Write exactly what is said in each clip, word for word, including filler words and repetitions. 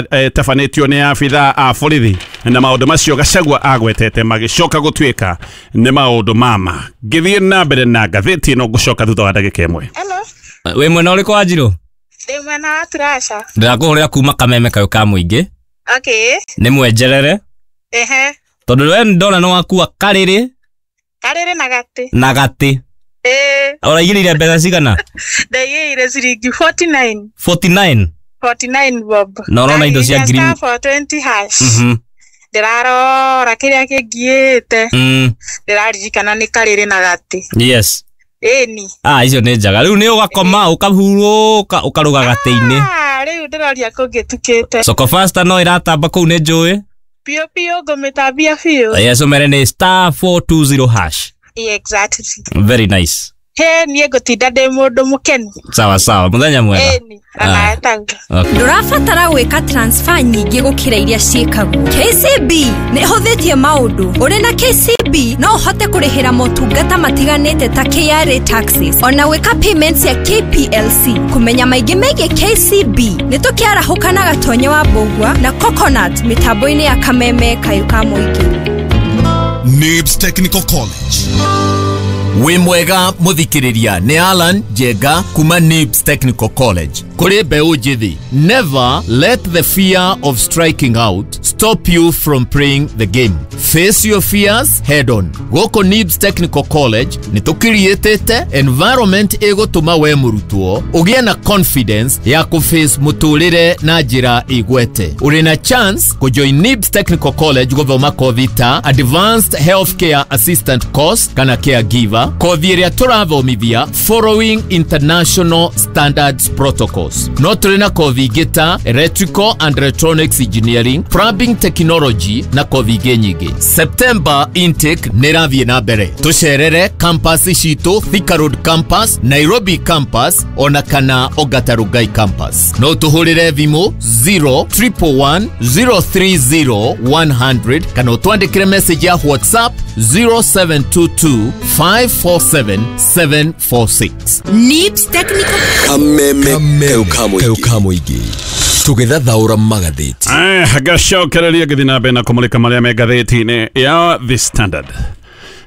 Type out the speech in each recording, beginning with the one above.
ĩtabanĩtio nĩ abithaa a borithi na maũndũ macio Gachagua agwetete magĩcoka gũtuĩka nĩ maũndũ mama. Ngĩthiĩ na mbere na ngathĩti ĩno ngũcoka thutha wa ndagĩka ĩmwe. Hello. Wĩ mwena ũrĩkũ wa Njirũ? Ndĩ mwena wa Turasha. Ndĩrakũhũrĩra kuma Kameme kayũ ka mũingĩ. Okay. Nĩ mwenjerere. Ehe. Tondũ we ndona nĩ wakua karĩrĩ. Karĩrĩ na gatĩ. Na gatĩ. Ĩĩ. Ũraigĩrĩire mbeca cigana? Ndaigĩrĩire ciringi forty-nine. forty-nine? forty-nine bob. Na ũrona indo cia ngiri Star four twenty hash. Mhm. Ndĩrarora kĩrĩa kĩngiĩte. Mm. Ndĩraririkana nĩ karĩrĩ na gatĩ. Yes. Ĩni. Ah, icio nĩ njega. Rĩu nĩ ũgakoma ũkahurũka ũkarũga gatĩ-inĩ. Ah, rĩu ndĩroria kũngĩtukĩte. Soko Fasta no ĩratamba kũu nĩ njũĩ. Biũ biũ ngũmĩtambia biũ. Yes, ũmere nĩ star four two zero hash. Exactly. Very nice. He, niĩ ngũtinda ndĩ mũndũ mũkenu. Sawa sawa, mũthenya mwega. Ĩni, ona etaguo. Okay. Ndũrabatara gwĩka transfer nyingĩ gũkĩra iria ciĩkagwo. K C B nĩ ĩhũthĩtie maũndũ. Ũrĩ na K C B no ũhote kũrĩhĩra motungata matiganĩte ta K R A taxes, ona gwĩka payments ya K P L C. Kũmenya maingĩ megiĩ K C B nĩ tũkĩarahũka na Gatonye wa Mbũgua na Coconut mĩtambo-inĩ ya Kameme kayũ ka mũingĩ. Nibs Technical College. Wĩ mwega mũthikĩrĩria nĩ Alan Njenga kuma Nibs Technical College. Kũrĩ mbeũ njĩthĩ, never let the fear of striking out stop you from playing the game. Face your fears head on. Gũkũ Nibs Technical College nĩ tũkiriĩtĩte environment ĩgũtũma we mũrutwo ũgĩe na confidence ya kũface mũtũrĩre na njĩra ĩgwete. Ũrĩ na chance kũjoin Nibs Technical College gũthoma kothi ta Advanced Healthcare Assistant Course kana Caregiver, kothi ĩrĩa tũrathomithia following international standards protocols. No tũrĩ na kothi ingĩ ta Electrical and Electronics Engineering, Plumbing Technology na kothi ingĩ nyingĩ. September intake nĩ ĩrathiĩ na mbere. Tũcerere campus citũ, Thika Road Campus, Nairobi Campus ona kana Ongata Rongai Campus. No tũhũrĩre thimũ zero triple one zero three zero one hundred kana ũtwandĩkĩre message ya WhatsApp zero seven two two five four seven seven four six. Nibs Technical Kameme kayũ ka mũingĩ tũgĩthathaũra magathĩti. Eh, gacokereria ngĩthiĩ na mbere na kũmũrĩka marĩa me ngathĩti-inĩ ya The Standard.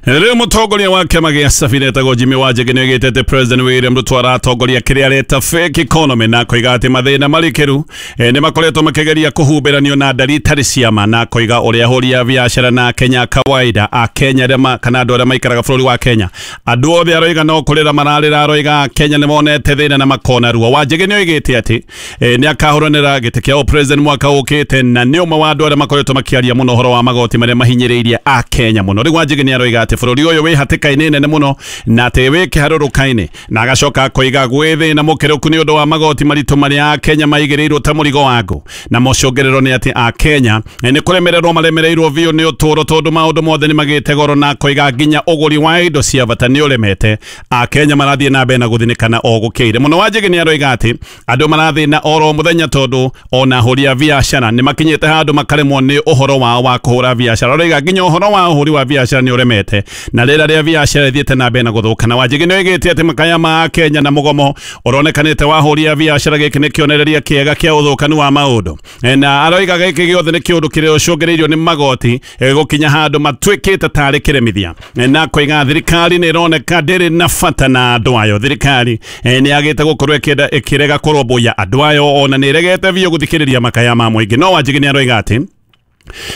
Rĩu mũtongoria wa kĩama gĩa Safina etagwo Jimmy Wanjigi nĩ oigĩte atĩ President William Ruto aratongoria kĩrĩa areta fake economy na koiga atĩ mathĩna marikĩru nĩ makoretwo makĩgeria kũhumbĩranio na ndari itarĩ cia ma, na koiga ũrĩa ahũri a biacara na Kenya kawaida a Kenya arĩa kana andũ arĩa maikaraga bũrũri wa Kenya andũ othe aroiga no kũrĩra mararĩra, aroiga Kenya nĩ monete thĩna na makona ruo. Wanjigi nĩ oigĩte atĩ nĩ akahũranĩra gĩtĩ kĩa president mwaka ũkĩte na nĩ ũmwe wa andũ arĩa makoretwo makĩaria mũno ũhoro wa magoti marĩa mahinyĩrĩirie a Kenya mũno. Rĩu Wanjigi nĩ aroiga atĩ bũrũri ũyũ wĩ hatĩka-inĩ nene mũno na atĩ wĩ kĩharũrũka-inĩ, na agacoka akoiga gwĩ thĩna mũkĩrũku nĩ ũndũ wa magoti maritũ marĩa a Kenya maigĩrĩirwo ta mũrigo wa ngũ, na mũcũngĩrĩro nĩ atĩ a Kenya nĩ kũremererwo maremereirwo biũ nĩ ũtũũro tondũ maũndũ mothe nĩ magĩte goro, na akoiga nginya ũgũri wa indo cia bata nĩ ũremete. A Kenya marathiĩ na mbere na gũthinĩkana o gũkĩire mũno. Wanjigi nĩ aroiga atĩ andũ marathĩna oro mũthenya tondũ ona ahũri a biacara nĩ makinyĩte handũ makaremwo nĩ ũhoro wao wa kũhũra biacara. Aroiga nginya ũhoro wa ũhũri wa biacara nĩ ũremete na rĩera rĩa biacara ĩthiĩte na mbere na gũthũka. Na Wanjigi nĩ oigĩte atĩ makaya ma Kenya na mũgomo ũronekanĩte wa ahũri a biacara gĩkĩ nĩ kĩonereria kĩega kĩa ũthũkanu wa maũndũ, na aroiga gĩkĩ gĩothe nĩ kĩũndũ kĩrĩa ũcũngĩrĩirio nĩ magoti gũkinya handũ matuĩkĩte tarĩ kĩremithia, na koiga thirikari nĩ ĩroneka ndĩrĩ na bata na andũ ayo. Thirikari nĩ yagĩte gũkorwo ĩkĩenda ĩkĩrega kũrũmbũiya andũ ayo, ona nĩ ĩregete biũ gũthikĩrĩria makaya ma mũingĩ. No Wanjigi nĩ aroiga atĩ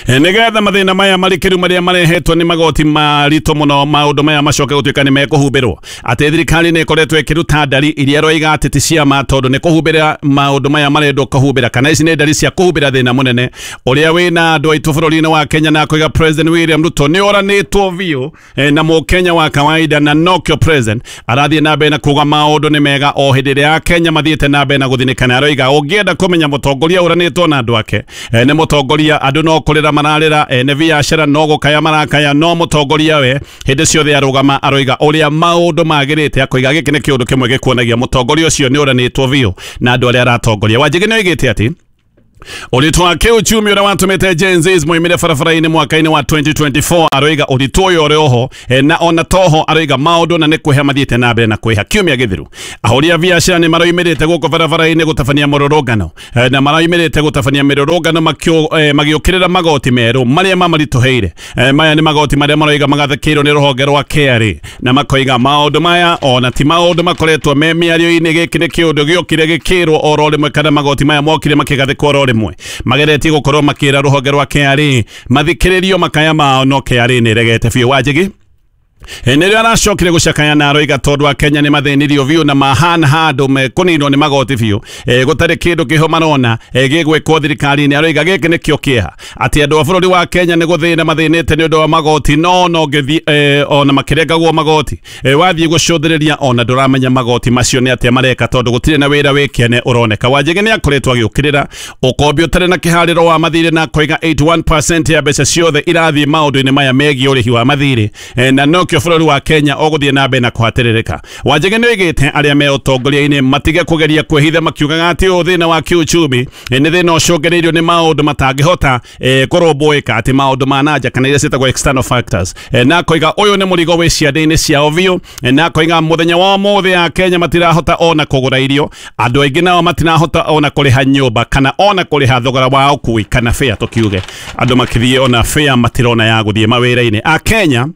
nĩgetha mathĩna maya marikĩru marĩa marehetwo nĩ magoti maritũ mũno maũndũ maya macoke gũtuĩka nĩ mekũhumbĩrwo, atĩ thirikari nĩ ĩkoretwo ĩkĩruta ndari iria ĩroiga atĩ ti cia ma tondũ nĩ kũhumbĩra maũndũ maya marendwo kũhumbĩra, kana ici nĩ ndari cia kũhumbĩra thĩna mũnene ũrĩa wĩna andũ aitũ bũrũri-inĩ wa Kenya. Na akoiga President William Ruto nĩ oranĩtwo biũ na mũkenya wa kawaida, na nokĩo president arathiĩ na mbere na kuga maũndũ nĩ mega o hĩndĩ ĩrĩa Kenya mathiĩte na mbere na gũthinĩkana. Aroiga ũngĩenda kũmenya mũtongoria ũranĩtwo na andũ ake nĩ mũtongoria andũ no kũrĩra mararĩra, ene biacara no gũkaya marakaya, no mũtongoria we hĩndĩ ciothe arũgama aroiga ũrĩa maũndũ magĩrĩte. Akoiga gĩkĩ nĩ kĩũndũ kĩmwe gĩkuonagia mũtongoria ũcio nĩ ũranĩtwo biũ na andũ arĩa aratongoria. Wanjigi nĩ oigĩte atĩ Ũritũ wa kĩuchumi ũrĩa watũmĩte Gen Zs moimĩre barabara-inĩ mwaka-inĩ wa twenty twenty-four aroiga ũritũ ũyũ ũrĩ oho na ona toho aroiga maũndũ na nĩ kwĩha mathiĩte na mbere na kwĩha. Kiumia gĩthiru ahũri a biacara nĩ maroimĩrĩte gũkũ barabara-inĩ gũtabania mũrũrũngano na maroimĩrĩte gũtabania mĩrũrũngano magĩũkĩrĩra magoti merũ marĩa mamaritũhĩire. Maya nĩ magoti marĩa maroiga magathĩkĩirwo nĩ rũhonge rwa K R A na makoiga maũndũ maya ona ti maũndũ makoretwo me mĩario-inĩ. Gĩkĩ nĩ kĩũndũ gĩokire gĩkĩrwo oro rĩmwe kana magoti maya mokire makĩgathĩkwo oro rĩmwe, mageretie gũkorwo makĩra rũhonge rwa K R A mathikĩrĩrio makaya mao no K R A nĩ ĩregete biũ. Wanjigi nĩrĩo aracokire gũcakaya na aroiga tondũ a Kenya nĩ mathĩnirio biũ na mahana handũ mekũninwo nĩ magoti biũ, gũtarĩ kĩndũ kĩho marona gĩgwĩkwo thirikari-inĩ. Aroiga gĩkĩ nĩkĩo kĩeha atĩ andũ a bũrũri wa Kenya nĩ gũthĩna mathĩnĩte nĩ ũndũ wa magoti no no ngĩthiĩ ona makĩrengagwo magoti wathiĩ gũcũthĩrĩria ona ndũramenya magoti macio nĩ atĩa mareka tondũ gũtirĩ na wĩra wĩ kĩene ũroneka. Wanjigi nĩ akoretwo agĩũkĩrĩra ũkombi ũtarĩ na kĩharĩro wa mathirĩ na akoiga eighty-one percent ya mbeca ciothe irathiĩ maũndũ-inĩ maya megiĩ ũrĩhi wa mathirĩ na no kĩo bũrũri wa Kenya ũgũthiĩ na mbere na kũhatĩrĩrĩka. Wanjigi nĩ oigĩte arĩa me ũtongoria-inĩ matige kũgeria kwĩhitha makiugaga atĩ ũyũ thĩna wa kĩuchumi nĩ thĩna ũcũngĩrĩirio nĩ maũndũ matangĩhota kũrũmbũĩka atĩ maũndũ ma nanja kana iria ciĩtagwo external factors, na akoiga ũyũ nĩ mũrigo wĩ ciande-inĩ ciao biũ, na akoiga mũthenya wa ũmũthĩ a Kenya matirahota ona kũgũra irio, andũ aingĩ nao matirahota ona kũrĩha nyũmba kana ona kũrĩha thogora wa ũkui kana fare, tũkiuge andũ makĩthiĩ ona fare matirona ya gũthiĩ mawĩra-inĩ. A Kenya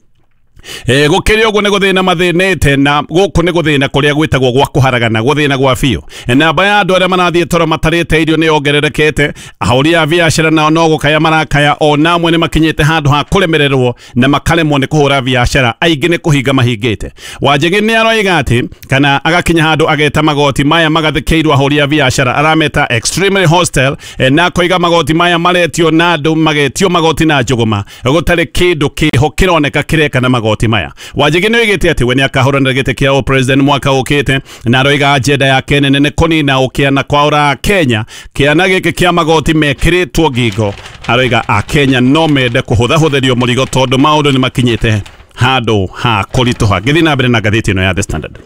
E, gũkĩrĩ ũguo nĩ gũthĩna mathĩnĩte na gũkũ nĩ gũthĩna kũrĩa gwĩtagwo gwa kũharagana gũthĩna gwa biũ. Namba ya andũ arĩa marathiĩ toro matarĩte irio nĩ yongererekete, ahũri a biacara nao no gũkaya marakaya ona amwe nĩ makinyĩte handũ ha kũremererwo na makaremwo nĩ kũhũra biacara, aingĩ nĩ kũhinga mahingĩte. Wanjigi nĩ aroiga atĩ kana agakinya handũ ageta magoti maya magathĩkĩirwo ahũri a biacara arameta extremely hostile, na akoiga magoti maya maretio na andũ magetio magoti na njũgũma gũtarĩ kĩndũ kĩho kĩroneka kĩreka na magoti maya. Wanjigi nĩ oigĩte atĩ we nĩ akahũranĩra gĩtĩ kĩa president mwaka ũkĩte na aroiga agenda yake nene nĩ kũnina ũkĩa na kwaũra Kenya kĩana gĩkĩ kĩa magoti mekĩrĩtwo ngingo. Aroiga a Kenya no mende kũhũthahũthĩrio mũrigo tondũ maũndũ nĩ makinyĩte handũ ha kũritũha. Ngĩthiĩ na mbere na ngathĩti ĩno ya The Standard.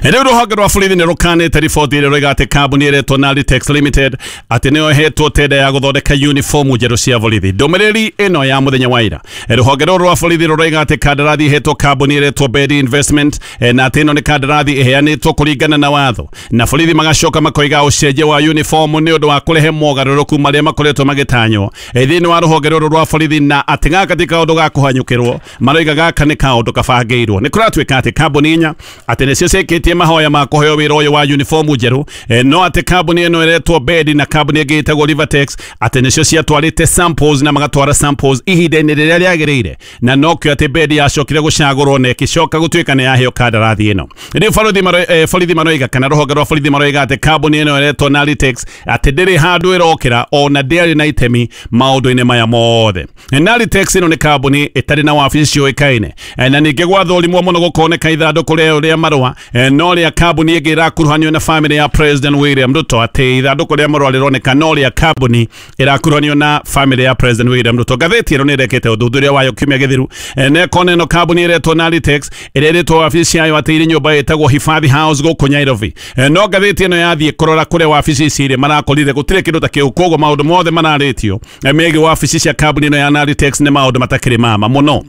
Rĩu rũhonge rwa borithi nĩ rũkanĩte riboti ĩrĩa ĩroiga atĩ kambuni ĩretwo Nalitex Limited atĩ nĩyo ĩhetwo tenda ya gũthondeka uniform njerũ cia borithi. Ndũmĩrĩri ĩno ya mũthenya wa ira, rũhonge rũrũ rwa borithi rũroiga atĩ kandarathi ĩhetwo kambuni ĩretwo Bedi Investment na atĩ ĩno nĩ kandarathi ĩheanĩtwo kũringana na watho, na borithi magacoka makoiga ũcenjia wa uniform nĩ ũndũ wa kũrehe mogarũrũku marĩa makoretwo magĩtanywo thĩinĩ wa rũhonge rũrũ rwa borithi, na atĩ gaka ti kaũndũ ga kũhanyũkĩrwo, maroiga gaka nĩ kaũndũ kabangĩirwo. Nĩ kũratuĩka atĩ kambuni inya atĩ nĩcio ciĩkĩtie mahoya ma kũheo wĩra ũyũ wa uniform njerũ, no atĩ kambuni ĩno ĩretwo Bedi na kambuni ĩngĩ ĩtagwo Rivertex atĩ nĩcio ciatwarĩte samples na magatwara samples ihinda-inĩ rĩrĩa rĩagĩrĩire, na nokĩo atĩ Bedi yacokire gũcagũrwo na ĩgĩcoka gũtuĩka nĩ yaheo kandarathi ĩno. Rĩu borithi maroiga kana rũhonge rwa borithi maroiga atĩ kambuni ĩno ĩretwo Nalitex atĩ ndĩrĩ handũ ĩrokĩra ona ndĩarĩ na itemi maũndũ-inĩ maya mothe. Nalitex ĩno nĩ kambuni ĩtarĩ na wabici ciũĩkaine, na ningĩ gwathũrimwo mũno gũkoneka ithandũkũ rĩayo rĩa marũa no rĩa kambuni ĩngĩ ĩrakuruhanio na family ya President William Ruto, atĩ ithandũkũ rĩa marũa rĩroneka no rĩa kambuni ĩrakuruhanio na family ya President William Ruto. Ngathĩti ĩno nĩ ĩrekĩte ũthuthuria wayo kiumia gĩthiru na ĩkona ĩno kambuni ĩretwo Nalitex ĩrĩa ĩrĩtwo wabici yayo atĩ ĩrĩ nyũmba ĩtagwo Hifadhi House gũkũ Nairobi, no ngathĩti ĩno yathiĩ kũrora kũrĩa wabici ici irĩ marakorire gũtirĩ kĩndũ ta kĩu, koguo maũndũ mothe mararĩtio megiĩ wabici cia kambuni ĩno ya Nalitex nĩ maũndũ matakĩrĩ mama mũno.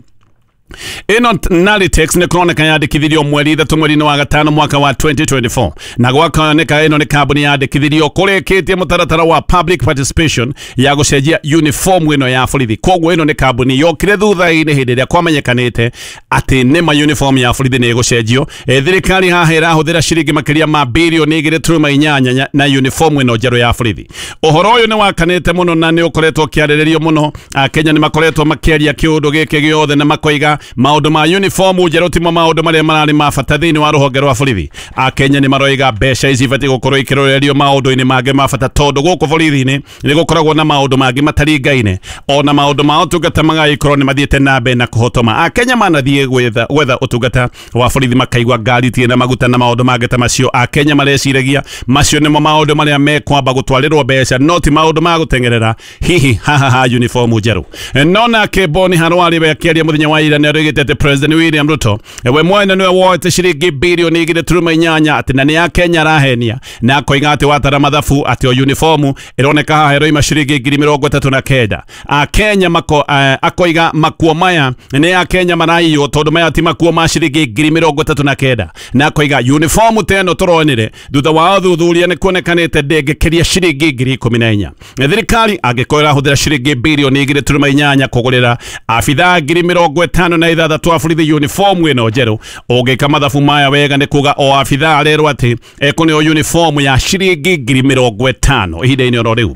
Ĩno Nalitex nĩ kũroneka yandĩkithirio mweri ithatũ mweri-inĩ wa gatano mwaka wa twenty twenty-four, na gwakoneka ĩno nĩ kambuni yandĩkithirio kũrĩkĩtie mũtaratara wa public participation ya gũcenjia uniform ĩno ya borithi. Koguo ĩno nĩ kambuni yokire thutha-inĩ hĩndĩ ĩrĩa kwamenyekanĩte atĩ nĩma uniform ya borithi nĩ ĩgũcenjio. Thirikari haha ĩrahũthĩra ciringi makĩria ma birioni igĩrĩ turuma inyanya na uniform ĩno njerũ ya borithi. Ũhoro ũyũ nĩ wakanĩte mũno na nĩ ũkoretwo ũkĩarĩrĩrio mũno. Akenya nĩ makoretwo makĩaria kĩũndũ gĩkĩ gĩothe na makoiga maũndũ ma uniform njerũ timo maũndũ marĩa mararĩ ma bata thĩinĩ wa rũhonge rwa borithi. Akenya nĩ maroiga mbeca ici ibatiĩ gũkorwo ikĩrorerio maũndũ-inĩ mangĩ ma bata tondũ gũkũ borithi-inĩ nĩ gũkoragwo na maũndũ mangĩ mataringaine, ona maũndũ ma ũtungata magagĩkorwo nĩ mathiĩte na mbere na kũhotoma. Akenya manathiĩ gwetha gwetha ũtungata wa borithi makaigua ngari itirĩ na maguta na maũndũ mangĩ ta macio. Akenya mareciragia macio nĩmo maũndũ marĩa mekwamba gũtwarĩrwo mbeca no ti maũndũ ma gũteng'erera hihi haha ha uniform njerũ. No nake Boni Harwari we akĩaria mũthenya wa ira nĩ arugĩte atĩ President William Ruto we mwene nĩwe woete ciringi bilioni igĩrĩ turuma inyanya atĩ na nĩ ya Kenya arahenia na akoiga atĩ watara mathabu atĩ o uniformu ĩroneka haha ĩroima ciringi ngiri mĩrongo ĩtatũ na kenda. Akenya mako akoiga makuo maya nĩ ya Kenya maraiywo tondũ maya ti makuo ma ciringi ngiri mĩrongo ĩtatũ na kenda na akoiga uniformu ta ĩno tũronire thutha wa ũthuthuria nĩ kuonekanĩte ndĩngĩkĩria ciringi ngiri ikũmi na inya. Thirikari angĩkorwo ĩrahũthĩra ciringi bilioni igĩrĩ turuma inyanya kũgũrĩra abithaa ngiri mĩrongo ĩtano na ithathatũ a borithi uniformu ĩno njerũ, ũngĩka mathabu maya wega nĩ kuga o abithaa arerwo atĩ ekũneo uniformu ya ciringi ngiri mĩrongo ĩtano ihinda-inĩ oro rĩu.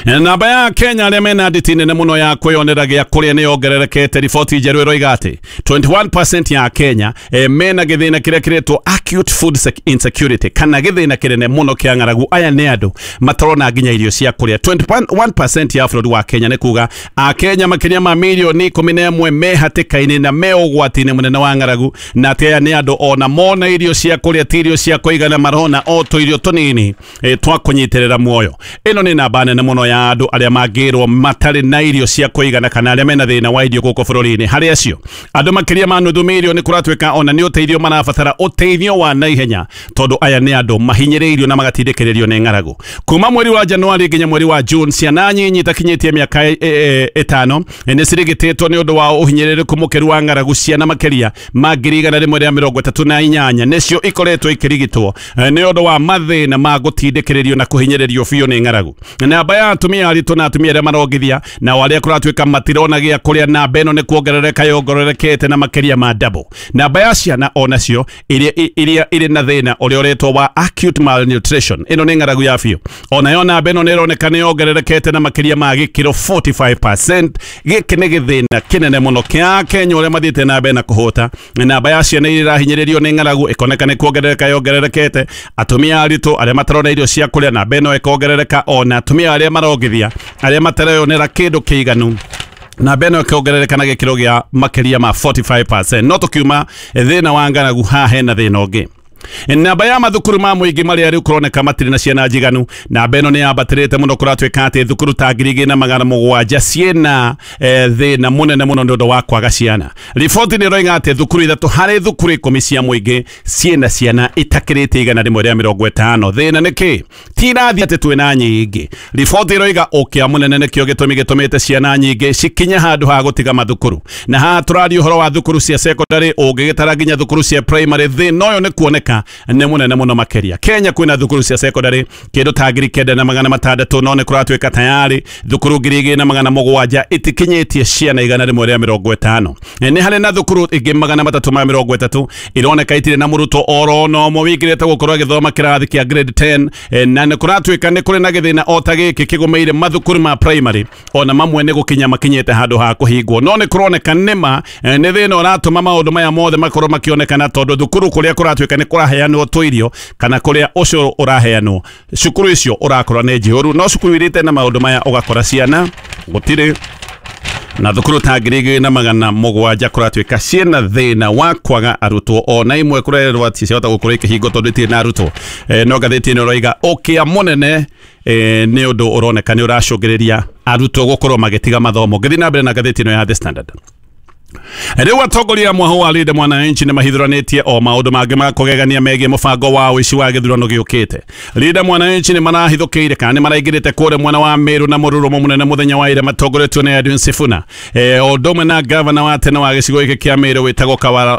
Namba ya Kenya arĩa mena nditi nene mũno ya kwĩyonera gĩa kũrĩa nĩ yongererekete. Riboti njerũ ĩroiga atĩ twenty-one percent ya Kenya e, mena gĩthĩna kĩrĩa kĩretwo acute food insecurity kana gĩthĩna kĩnene mũno kĩa ng'aragu. Aya nĩ andũ matarona nginya irio cia kũrĩa. twenty-one percent ya bũrũri wa Kenya nĩ kuga Akenya makĩria ma mirioni ikũmi na ĩmwe me hatĩka-inĩ na me ũgwati-inĩ mũnene wa ng'aragu, na atĩ aya nĩ andũ ona mona irio cia kũrĩa ti irio cia kũigana, marona o tũirio tũnini e, twa kũnyitĩrĩra muoyo. Ĩno nĩ namba nene mũno ya andũ arĩa mangĩrwo matarĩ na irio cia kũigana kana arĩa mena thĩna wa irio gũkũ bũrũri-inĩ. Harĩ acio andũ makĩria ma nuthu mirioni kũratuĩka ona nĩ ũteithio marabatara ũteithio wa naihenya tondũ aya nĩ andũ mahinyĩrĩirio na magatindĩkĩrĩrio nĩ ng'aragu. Kuma mweri wa Januari nginya mweri wa June ciana nyinyi itakinyĩtie mĩaka ĩtano nĩ cirigitĩtwo nĩ ũndũ wa ũhinyĩrĩrĩku mũkĩru wa ng'aragu. Ciana makĩria ma ngiri igana rĩmwe rĩa mĩrongo ĩtatũ na inyanya nĩcio ikoretwo ikĩrigitwo nĩ ũndũ wa mathĩna ma gũtindĩkĩrĩrio na kũhinyĩrĩrio biũ nĩ ng'aragu. Namba ya atumia aritũ na atumia arĩa marongithia na arĩa kũratuĩka matirona gĩa kũrĩa, namba ĩno nĩ kuongerereka yongererekete na makĩria ma double. Namba ya ciana onacio iria iria irĩ na thĩna ũrĩa ũretwo wa acute malnutrition, ĩno nĩ ng'aragu ya biũ, onayo namba ĩno nĩ ĩroneka nĩ yongererekete na makĩria ma gĩkĩro forty-five percent. Gĩkĩ nĩ gĩthĩna kĩnene mũno kĩa Kenya ũrĩa mathiĩte na mbere na kũhũta. Namba ya ciana iria irahinyĩrĩrio nĩ ng'aragu ĩkoneka nĩ kuongerereka yongererekete, atumia aritũ arĩa matarona irio cia kũrĩa namba ĩno ĩkongerereka, ona atumia arĩa marongithia arĩa matareyonera kĩndũ kĩiganu namba ĩno ĩkongerereka na gĩkĩro gĩa makĩria ma forty-five percent. No tũkiuma thĩna wa ng'aragu haha hena thĩna ũngĩ. Namba ya mathukuru ma mũingĩ marĩa rĩu kũroneka matirĩ na ciana njiganu, namba ĩno nĩ yambatĩrĩte mũno. Kũratuĩka atĩ thukuru ta ngiri igĩrĩ na magana mũgwanja ciĩna thĩna mũnene mũno nĩ ũndũ wa kwaga ciana. Riboti nĩ ĩroiga atĩ thukuru ithatũ harĩ thukuru ikũmi cia mũingĩ ciĩna ciana itakĩrĩte igana rĩmwe rĩa mĩrongo ĩtano. Thĩna nĩ kĩ? Ti irathi atĩ twĩna nyingĩ. Riboti ĩroiga ũkĩa mũnene nĩkĩo gĩtũmi gĩtũmĩte ciana nyingĩ cikinye handũ ha gũtiga mathukuru, na haha tũraria ũhoro wa thukuru cia secondary ũngĩgĩtara nginya thukuru cia primary thĩna ũyũ nĩ kuoneka nĩ mũnene mũno makĩria. Kenya kwĩna thukuru cia secondary kĩndũ ta ngiri kenda na magana matandatũ, no nĩ kũratuĩka tayari thukuru ngiri igĩrĩ na magana mũgwanja itikinyĩtie ciana igana rĩmwe rĩa mĩrongo ĩtano. Nĩ harĩ na thukuru ingĩ magana matatũ ma mĩrongo ĩtatũ ironeka itirĩ na mũrutwo oro na ũmwe wĩingĩrĩte gũkorwo agĩthoma kĩrathi kĩa grade ten, na nĩ kũratuĩka nĩ kũrĩ na gĩthĩna o ta gĩkĩ kĩgũmĩire mathukuru ma primary, ona mamwe nĩ gũkinya makinyĩte handũ ha kũhingwo. No nĩ kũroneka nĩma nĩ thĩna ũratũma maũndũ maya mothe makorwo makĩonekana tondũ thukuru kũrĩa kũratuĩka nĩ kũraheanwo tũirio kana kũrĩa ũcũrũ ũraheanwo cukuru icio ũrakora nĩ njihũru, no cukuru irĩte na maũndũ maya ũgakora ciana gũtirĩ. Na thukuru ta ngiri igĩrĩ na magana mũgwanja kũratuĩka ciĩna thĩna wa kwaga arutwo, ona imwe kũrerwo atĩ ciahota gũkorwo ikĩhingwo tondũ itirĩ na arutwo. E, no ngathĩti ĩno ĩroiga ũkĩa mũnene e, nĩ ũndũ ũroneka nĩ ũracũngĩrĩria arutwo gũkorwo magĩtiga mathomo. Ngĩthiĩ na mbere na ngathĩti ĩno ya The Standard. Rĩu atongoria mwahu wa Linda Mwananchi nĩ mahithũranĩtie o maũndũ mangĩ ma kũgegania megiĩ mũbango wa ũici wa gĩthurano gĩũkĩte. Linda Mwananchi nĩ marahithũkĩire kana nĩ maraingĩrĩte kũrĩa mwena wa Meru na mũrurumo mũnene mũthenya wa ira matongoretio nĩ Edwin Sifuna, e, o ũndũ ũmwe na gavana wa tene wa gĩcigo gĩkĩ kĩa Meru wĩtagwo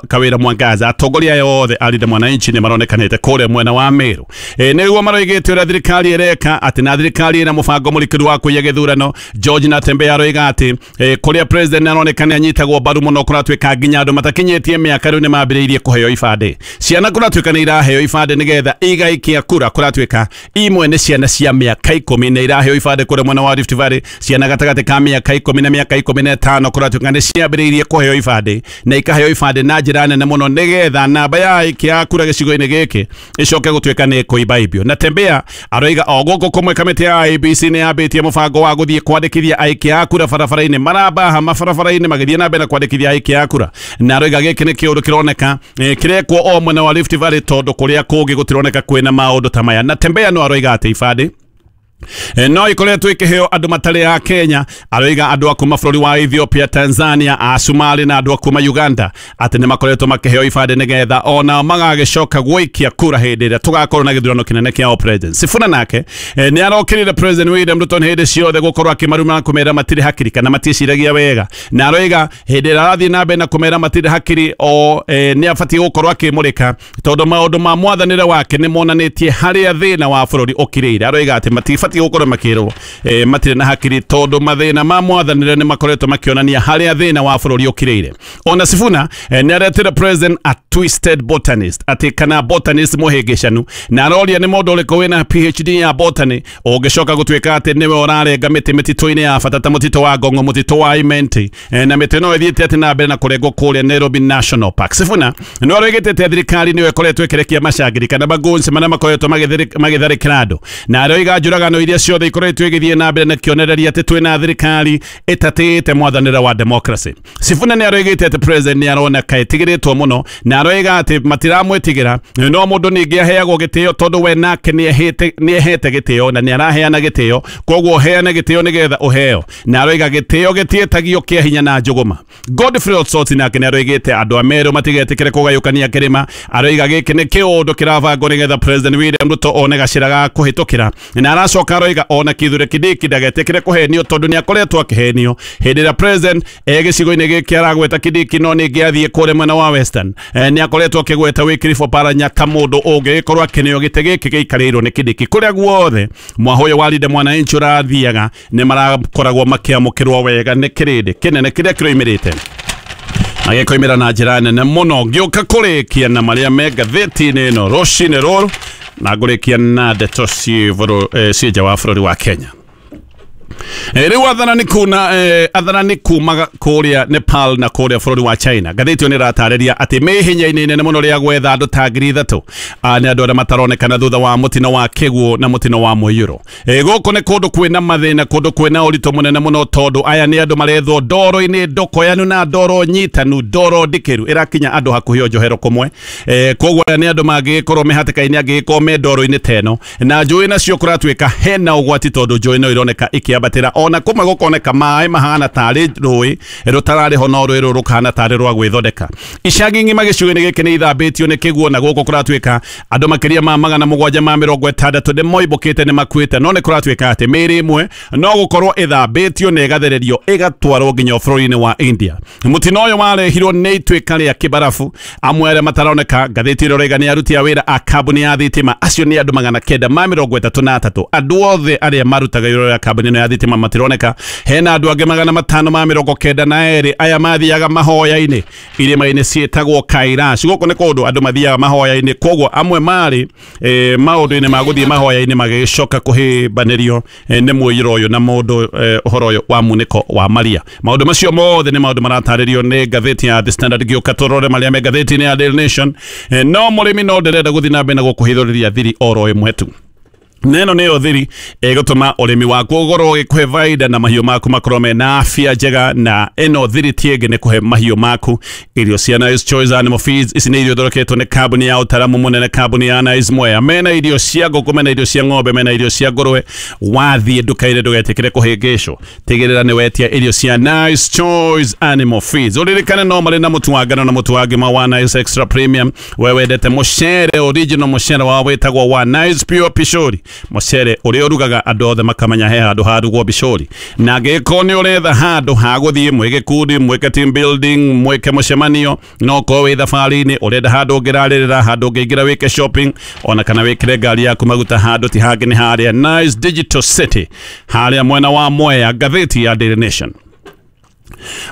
Kawĩra Mwangaza. Atongoria aya othe a Linda Mwananchi nĩ maronekanĩte kũrĩa mwena wa Meru. E, nĩguo maroigĩte ũrĩa thirikari ĩreka atĩ na thirikari ĩna mũbango mũrikĩru wa kũiya gĩthurano. George Natembeya aroiga atĩ e, kũrĩa president aroneka nĩ anyitagwo mbaru mũno kũratuĩka nginya andũ matakinyĩtie mĩaka rĩu nĩ mambĩrĩirie kũheo ibandĩ. Ciana kũratuĩka nĩ iraheo ibandĩ nĩgetha igaikia kura, kũratuĩka imwe nĩ ciana cia mĩaka ikũmi nĩ iraheo ibandĩ kũrĩa mwena wa Rift Valley. Ciana gatagatĩ ka mĩaka ikũmi na mĩaka ikũmi na ĩtano kũratuĩka nĩ ciambĩrĩirie kũheo ibandĩ na ikaheo ibandĩ na njĩra nene mũno nĩgetha namba ya aikia kura gĩcigo-inĩ gĩkĩ ĩcoke gũtuĩka nĩ ĩkũimbaimbio. Natembeya aroiga o gũkũ kũmwe kamĩtĩ ya I E B C nĩ yambĩtie mũbango wa gũthiĩ kwandĩkithia aikia a kura barabara-inĩ, marambaha mabarabara-inĩ magĩthiĩ na mbere na kwandĩkithia aikia a kura, na aroiga gĩkĩ nĩ kĩũndũ kĩroneka kĩrekwo o mwena wa Rift Valley tondũ kũrĩa kũngĩ gũtironeka kwĩna maũndũ ta maya. Natembeya no aroiga atĩ ibandĩ E, no ikoretwo ikiheo andu matari a Kenya aroiga andu a kuma bũrũri wa Ethiopia, Tanzania, a Somalia na andu a kuma Uganda ati ni makoretwo makiheo ibande nigetha ona magagicoka gwikia kura hindi ĩrĩa tugakorwo na gĩthurano kĩnene kĩa president. Sifuna nake e, nĩ arokĩrĩire President William Ruto hĩndĩ ciothe gũkorwo akĩmaruma na kũmera matirĩ hakiri kana matiĩciragia wega, na aroiga hĩndĩ ĩrĩa arathiĩ na mbere na kũmera matirĩ hakiri o e, nĩ abatiĩ gũkorwo akĩmũrĩka tondũ maũndũ ma mwathanĩre wake nĩ monanĩtie harĩa thĩna wa bũrũri ũkirĩire. Aroiga atĩ matibatiĩ gũkorwo makĩrwo e, matirĩ na hakiri tondũ mathĩna ma mwathanĩre nĩ makoretwo makĩonania harĩa thĩna wa bũrũri ũkirĩire. Ona Sifuna e, nĩ aretire president a twisted botanist, atĩ kana botanist mũhĩngĩcanu, na aroria nĩ mũndũ ũrĩkũ wĩna P H D ya botany ũngĩcoka gũtuĩka atĩ nĩwe ũrarenga mĩtĩ mĩtitũ-inĩ ya bata ta mũtitũ wa Ngong'o, mũtitũ wa Imenti, e, na mĩtĩ no ĩthiĩte atĩ na mbere na kũrengwo kũrĩa Nairobi National Park. Sifuna nĩ aroigĩte atĩ thirikari nĩyo ĩkoretwo ĩkĩrekia macangĩri kana magoons marĩa makoretwo magĩtharĩkĩra andũ, na aroiga njũragano iria ciothe ikoretwo igĩthiĩ na mbere na kĩonereria atĩ twĩna thirikari ĩtatĩĩte mwathanĩre wa democracy. Sifuna nĩ aroigĩte atĩ president nĩ arona kaĩtigĩrĩtwo mũno, na aroiga atĩ matiramwĩtigĩra, no mũndũ ningĩ aheagwo gĩtĩo tondũ we nake nĩ ehete gĩtĩo na nĩ araheana gĩtĩo, koguo heana gĩtĩo nĩgetha ũheo, na aroiga gĩtĩo gĩtiĩtagio kĩa hinya na njũgũma. Godfrey Osotsi nake nĩ aroigĩte andũ a Meru matigetĩkĩre kũgayũkania kĩrĩma, aroiga gĩkĩ nĩ kĩũndũ kĩrabangwo nĩgetha President William Ruto one gacĩra ga kũhĩtũkĩra, na aracoka aroiga ona Kithure Kindiki ndagetĩkĩre kũhenio tondũ nĩ akoretwo akĩhenio hĩndĩ ĩrĩa president e gĩcigo-inĩ gĩkĩ aragweta Kindiki, no ningĩ athiĩ kũrĩa mwena wa Western nĩ akoretwo akĩgweta Wycliffe Oparanya ta mũndũ ũngĩgĩkorwo akĩneo gĩtĩ gĩkĩ gĩikarĩirwo nĩ Kindiki. Kũrĩa guothe mwahũyũ wa Linda Mwananchi ũrathiaga nĩ marakoragwo makĩamũkĩrwo wega nĩ kĩrĩndĩ kĩnene kĩrĩa kĩroimĩrĩte agĩkoimĩra na njĩra nene mũno. Ngĩũka kũrĩkia na marĩa me ngathĩti-inĩ ĩno rũcinĩ rũrũ, na ngũrĩkia na ndeto ciĩ nja wa bũrũri wa Kenya. Rĩu atharani kuna atharani kuma kũrĩa Nepal na kũrĩa bũrũri wa China, ngathĩti ĩyo nĩ ĩratarĩria atĩ me hinya-inĩ inene mũno rĩa gwetha andũ ta ngiri ithatũ nĩ andũ arĩa mataronekana thutha wa mũtino wa kĩguũ na mũtino wa mũiyũro. Gũkũ nĩ kũndũ kwĩna mathĩna, kũndũ kwĩna ũritũ mũnene mũno tondũ aya nĩ andũ marethwo ndoro-inĩ ndokoyanu na ndoro nyitanu, ndoro ndikĩru ĩrakinya andũ hakuhĩ o njohero kũmwe. Koguo aya nĩ andũ mangĩgĩkorwo me hatĩka-inĩ, angĩgĩkorwo me ndoro-inĩ ta ĩno, na njũĩ nacio kũratuĩka hena ũgwati tondũ njũĩ no ironeka ikĩambatĩra, ona kũmwe gũkoneka maĩ mahana tarĩ rũĩ rũtararĩ ho no rũĩ rũrũ rũkahana tarĩ rwa gwĩthondeka. Icagi ng'ima gĩcigo-inĩ gĩkĩ nĩ ithambĩtio nĩ kĩguũ, na gũkũ kũratuĩka andũ makĩria ma magana mũgwanja ma mĩrongo ĩtandatũ nĩ moimbũkĩte nĩ makuĩte, no nĩ kũratuĩka atĩ mĩĩrĩ ĩmwe no gũkorwo ĩthambĩtio na ĩgathererio ĩgatwarwo nginya bũrũri-inĩ wa India. Mũtino ũyũ warehirwo nĩ ituĩka rĩa kĩbarabu, amwe arĩa mataroneka ngathĩti ĩrĩa ĩroiga nĩ aruti a wĩra a kambuni ya thitima, acio nĩ andũ magana kenda ma mĩrongo ĩtatũ na atatũ. Andũ othe arĩa marutaga wĩra ya kambuni ĩno ya thitima matironeka. Hena andũ angĩ magana matano ma mĩrongo kenda na erĩ aya mathiaga mahoya-inĩ irĩma-inĩ ciĩtagwo Kailash. Gũkũ nĩ kũndũ andũ mathiaga mahoya-inĩ, koguo amwe marĩ e, maũndũ-inĩ ma gũthiĩ mahoya-inĩ magĩcoka kũhĩmbanĩrio e, nĩ mũiyũro ũyũ na mũndũ e, ũhoro ũyũ wa munĩko wa Maria. Maũndũ macio mothe nĩ maũndũ maratarĩrio nĩ ngathĩti ya The Standard. Gĩũka tũrore marĩa me ngathĩti-inĩ ya Daily Nation. E, no mũrĩmi no ndĩrenda gũthiĩ na mbere na gũkũhithũrĩria thiri oro ĩmwe tu. Neno nĩyo thiri ĩgũtũma ũrĩmi waku ũkorwo ũgĩkũhe baida na mahiũ maku makorwo mena afya njega, na ĩno thiri ti ĩngĩ nĩ kũhe mahiũ maku irio cia Nice Choice Animal Feeds. Ici nĩ irio ithondeketwo nĩ kambuni ya ũtaramu mũnene, kambuni ya Nice Mwea. Mena irio cia ngũkũ, mena irio cia ng'ombe, mena irio cia ngũrwe. Wathiĩ nduka-inĩ ndũgetĩkĩre kũhĩngĩcwo, tigĩrĩra nĩ wetia irio cia Nice Choice Animal Feeds. Ũririkane no marĩ na mũtu wa ngano na mũtu wa ngima wa Nice Extra Premium. We wendete mũcere original, mũcere wa wĩtagwo wa Nice Pure Pishori, mũcere ũrĩa ũrugaga andũ othe makamenya he handũ harugwo bicori. Na angĩkorwo nĩ ũretha handũ ha gũthiĩ mwĩ gĩkundi, mwĩke team building, mwĩke mũcemanio, no ũkorwo wĩ thabarĩ-inĩ ũrenda handũ ũngĩrarĩrĩra, handũ ũngĩingĩra wĩke shopping, ona kana wĩkĩre ngari yaku maguta, handũ ti hangĩ nĩ harĩa Nice Digital City, harĩa mwena wa Mwea. Ngathĩti ya Daily Nation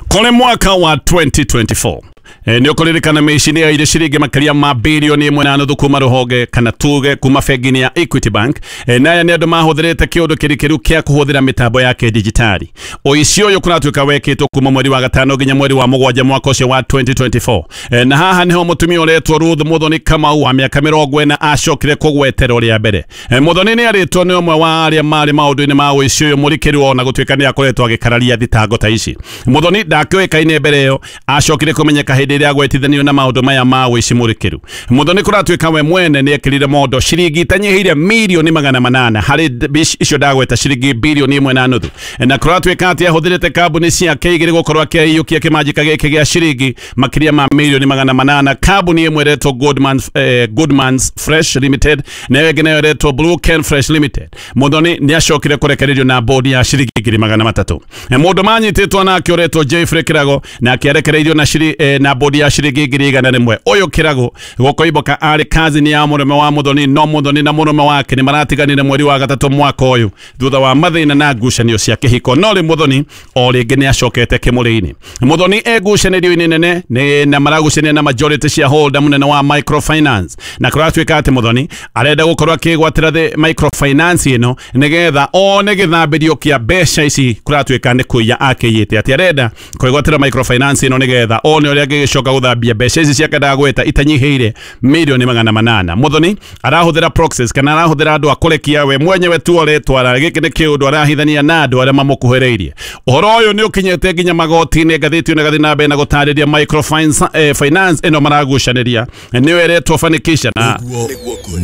kũrĩ mwaka wa twenty twenty-four E, nĩ ũkũririkana mĩici nĩ yaire ciringi makĩria ma birioni ĩmwe na nuthu kuma rũhonge kana tuge kuma bengi-inĩ ya Equity Bank. E, na aya nĩ andũ mahũthĩrĩte kĩũndũ kĩrikĩru kĩa kũhũthĩra mĩtambo ya kĩdigitali. Ũici ũyũ kũratuĩka wekĩtwo kuma mweri wa gatano nginya mweri wa mũgwanja mwaka ũcio wa twenty twenty-four. E, na haha nĩho mũtumia ũretwo Ruth Muthoni Kamau wa mĩaka mĩrongo ĩna acokire kũgweterwo rĩa mbere. E, Muthoni nĩ arĩtwo nĩ ũmwe wa arĩa marĩ maũndũ-inĩ ma ũici ũyũ mũrikĩru, ona gũtuĩka nĩ akoretwo agĩkararia thitango ta ici. Muthoni ndakĩũĩkaine mbere ĩyo, acokire kũmenyeka hĩndĩ ĩrĩa agwetithanio na maũndũ maya ma ũici mũrikĩru. Muthoni kũratuĩka we mwene nĩ ekĩrire mondo ciringi itanyihĩire mirioni magana manana harĩ icio ndagweta ciringi bilioni ĩmwe na nuthu, na kũratuĩka atĩ ahũthĩrĩte kambuni ciake igĩrĩ gũkorwo akĩiyũkia kĩmanjĩka gĩkĩ gĩa ciringi makĩria ma mirioni magana manana. Kambuni ĩmwe ĩretwo Goodman, eh, Goodman's Fresh Limited na ĩyo ĩngĩ nayo ĩretwo Blue Ken Fresh Limited. Muthoni nĩ acokire kũrekererio na bodi ya ciringi ngiri magana matatũ. Mũndũ manyitĩtwo nake ũretwo Jeffrey Kirago nake arekereirio na shiri, eh, na bodi ya ciringi ngiri igana rĩmwe. Ũyũ Kirago gũkoiboka arĩ kazini ya mũrũme wa Muthoni, no Muthoni na mũrũme wake nĩ maratiganire mweri wa gatatũ mwaka ũyũ thutha wa mathĩna na ngucanio cia kĩhiko. No rĩ Muthoni o rĩngĩ nĩ acokete kĩmũrĩ-inĩ. Muthoni e ngucanĩrio-inĩ nene nĩ na maragucania na majority shareholder mũnene wa microfinance, na kũratuĩka atĩ Muthoni arenda gũkorwo akĩgwatĩra the microfinance ĩno nĩgetha one gĩthambĩrio kĩa mbeca ici kũratuĩka nĩ kũiya akĩiyĩte, atĩ arenda kwĩgwatĩra microfinance ĩno nĩgetha one ũrĩa angĩgĩcoka gũthambia mbeca ici ciake ndagweta itanyihĩire milioni magana manana. Muthoni arahũthĩra proxies kana arahũthĩra andũ a kũrekia we mwenyewe tu aretwara. Gĩkĩ nĩ kĩũndũ arahithania na andũ arĩa mamũkuhĩrĩirie. Ũhoro ũyũ nĩ ũkinyĩte nginya magoti-inĩ. Ngathĩti ĩno ĩgathiĩ na mbere na gũtarĩria microfinance eh, finance ĩno maragucanĩria nĩyo ĩretwo fanikisha na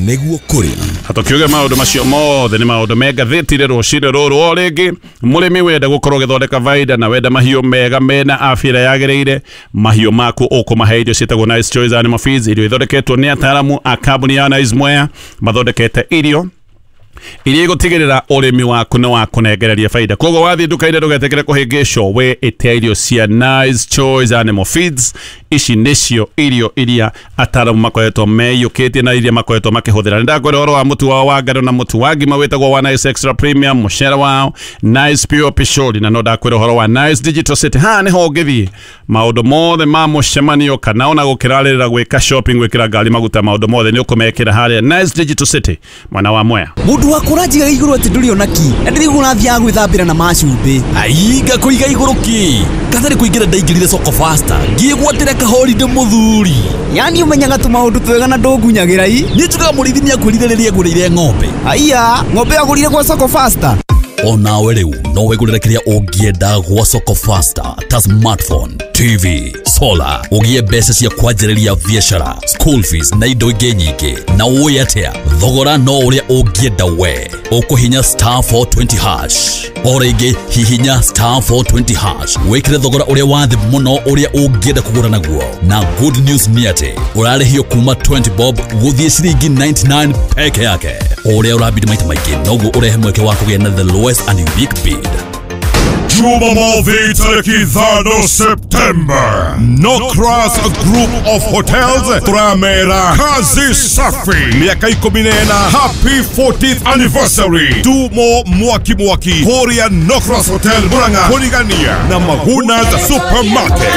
nĩguo kũrĩ Hatukiuga maũndũ macio mothe nĩ maũndũ me ngathĩti-inĩ rũcinĩ rũrũ. O rĩngĩ mũrĩmi wenda gũkorwo ũgĩthondeka baida na wenda mahiũ mega mena afya ĩrĩa yagĩrĩire, mahiũ maku ũkũmahe irio ciĩtagwo Nice Choice Animal Feeds, irio ithondeketwo nĩ ataaramu a kambuni ya Nice Mwea. Mathondekete irio iria igũtigĩrĩra ũrĩmi waku nĩ wakũnengereria baida. Koguo wathiĩ nduka-inĩ ndũgetĩkĩre kũhĩngĩcwo, we ĩte irio cia Nice Choice Animal Feeds. Ici nĩcio irio iria ataaramu makoretwo meyũkĩtie na iria makoretwo makĩhũthĩra. Nĩndakwĩra ũhoro wa mũtu wao wa ngano na mũtu wa ngima wĩtagwo wa Nice Extra Premium, mũcere wao Nice Pure Pishori, na no ndakwĩra ũhoro wa Nice Digital City. Haha nĩho ũngĩthiĩ maũndũ mothe ma mũcemanio kana ona gũkĩrarĩrĩra gwĩka shopping, gwĩkĩra ngari maguta, maũndũ mothe nĩ ũkũmekĩra harĩa Nice Digital City mwena wa Mwea. Mũndũ wa kũranjiga igũrũ atĩ ndũrĩ ona ki na ndĩrĩguo ũrathiaga gwĩthambĩra na macumbĩ. Ai ngakũiga igũrũ ki katarĩ kũingĩra ndaingĩrire soko faster ngĩgwatĩra kahorinde mũthuri. Yani ũmenyaga tũmaũndũ twega na ndũngunyagĩra i. Niĩ njugaga mũrĩithi nĩakwĩrire rĩrĩa agũrĩire ng'ombe. Aiya, ng'ombe agũrire gwa soko faster. Onawe rĩu no wĩgũrĩre kĩrĩa ũngĩenda gwa soko faster ta smartphone, T V, solar, ũgĩe mbeca cia kwanjĩrĩria biacara, school fees na indo ingĩ nyingĩ. Na ũĩ atĩa, thogora no ũrĩa ũngĩenda we. Ũkũhinya star four twenty hash. O rĩngĩ hihinya star four twenty hash wĩkĩre thogora ũrĩa wa thĩ mũno ũrĩa ũngĩenda kũgũra naguo. Na good news nĩ atĩ ũrarĩhio kuma twenty bob gũthiĩ ciringi ninety-nine peke yake. O ũrĩa ũrabidi maita maingĩ noguo ũrehe mweke wa kũgĩa na the lowest and unique bid. Jumamothi tariki ithano September, Nocras Group of Hotels Tramera Kazi Safi miaka ikũmi na ĩna, happy fortieth anniversary. Tumo mwaki mwaki Korea Nocras Hotel Murang'a kũrigania na Magunas Supermarket.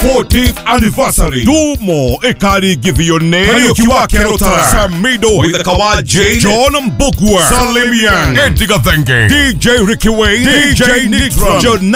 fortieth anniversary Dumo Ekari Givione Kariuki wa Kerotara Samido Withakawa Jane John Mbugua Salim Yang Eddie Gathenge D J Ricky Wayne D J Nitram John